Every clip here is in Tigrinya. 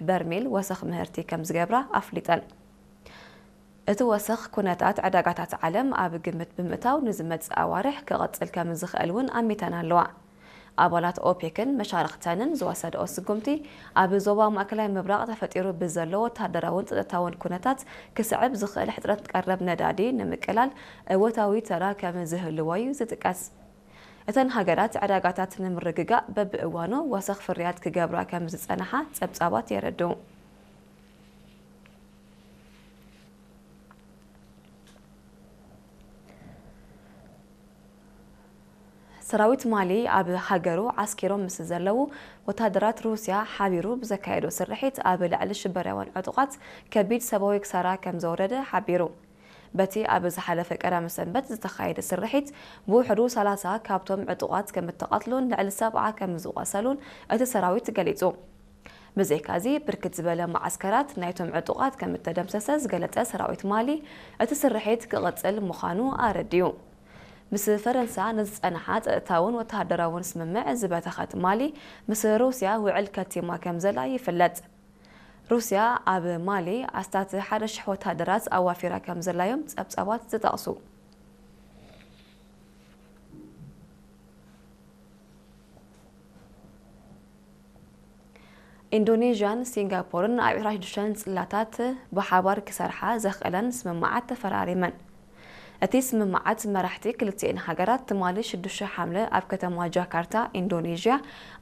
በርሜል ወሰኽ ምህርቲ ከም ዝገብራ ኣፍሊጠን። እቲ ወሰኽ ኩነታት ዕዳጋታት ዓለም ኣብ ግምት ብምእታው ንዝመጽእ ኣዋርሕ ክቐጽል ከም ዝኽእል እውን ኣሚተን ኣለዋ። ኣባላት ኦፔክን መሻርኽተንን ዝወሰድኦ ስጉምቲ ኣብ ዞባ ማእከላይ ምብራቕ ተፈጢሩ ብዘሎ ወተሃደራውን ጸጥታውን ኩነታት ክስዕብ ዝኽእል ሕጽረት ቀረብ ነዳዲ ንምቅላል እወታዊ ተራ ከም ዝህልዎ እዩ ዝጥቀስ። እተን ሃገራት ዕዳጋታት ንምርግጋእ በብእዋኑ ወሰኽ ፍርያት ክገብራ ከም ዝጸንሓ ጸብጻባት የረድኡ። ሰራዊት ማሊ ኣብ ሃገሩ ዓስኪሮም ምስ ዘለዉ ወታደራት ሩስያ ሓቢሩ ብዘካየዶ ስርሒት ኣብ ልዕሊ ሽበራውያን ዕጡቓት ከቢድ ሰብኣዊ ክሳራ ከም ዘውረደ ሓቢሩ። በቲ ኣብ ዝሓለፈ ቀዳመ ሰንበት ዝተኻየደ ስርሒት ብውሕዱ ሰላሳ ካብቶም ዕጡቓት ከም እተቐትሉን ልዕሊ ሰብዓ ከም ዝቖሰሉን እቲ ሰራዊት ገሊጹ። ብዘይካዚ ብርክት ዝበለ መዓስከራት ናይቶም ዕጡቓት ከም እተደምሰሰ ዝገለጸ ሰራዊት ማሊ እቲ ስርሒት ክቕጽል ምዃኑ ኣረዲኡ። ምስ ፈረንሳ ንዝጸንሓ ጸጥታውን ወተሃደራውን ስምምዕ ዝበተኸት ማሊ ምስ ሩስያ ውዕል ከቲማ ከም ዘላ ይፍለጥ። ሩስያ ኣብ ማሊ ኣስታት ሓደ ሽሕ ወተሃደራት ኣዋፊራ ከም ዘላ እዮም ጸብጻባት ዝጠቕሱ። ኢንዶኔዥያን ሲንጋፖርን ኣብ ዕስራን ሽዱሽተን ጽላታት ብሓባር ክሰርሓ ዘኽእለን ስምምዓት ተፈራሪመን። እቲ ስምምዓት መራሕቲ ክልቲኤን ሃገራት ትማሊ ሽዱሽተ ሓምለ ኣብ ከተማ ጃካርታ ኢንዶኔዥያ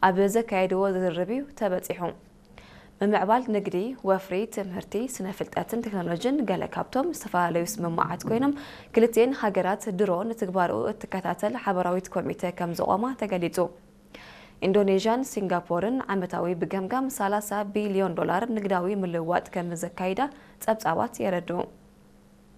ኣብ ዘካየድዎ ዝርርብ እዩ ተበጺሑ። ምምዕባል ንግዲ፣ ወፍሪ፣ ትምህርቲ፣ ስነ ፍልጠትን ቴክኖሎጂን ገለ ካብቶም ዝተፈላለዩ ስምምዓት ኮይኖም፣ ክልቲኤን ሃገራት ድሮ ንትግባርኡ እትከታተል ሓበራዊት ኮሚተ ከም ዘቖማ ተገሊጹ። ኢንዶኔዥያን ሲንጋፖርን ዓመታዊ ብገምጋም ሰላሳ ቢልዮን ዶላር ንግዳዊ ምልውዋጥ ከም ዘካይዳ ጸብጻባት የረድኡ።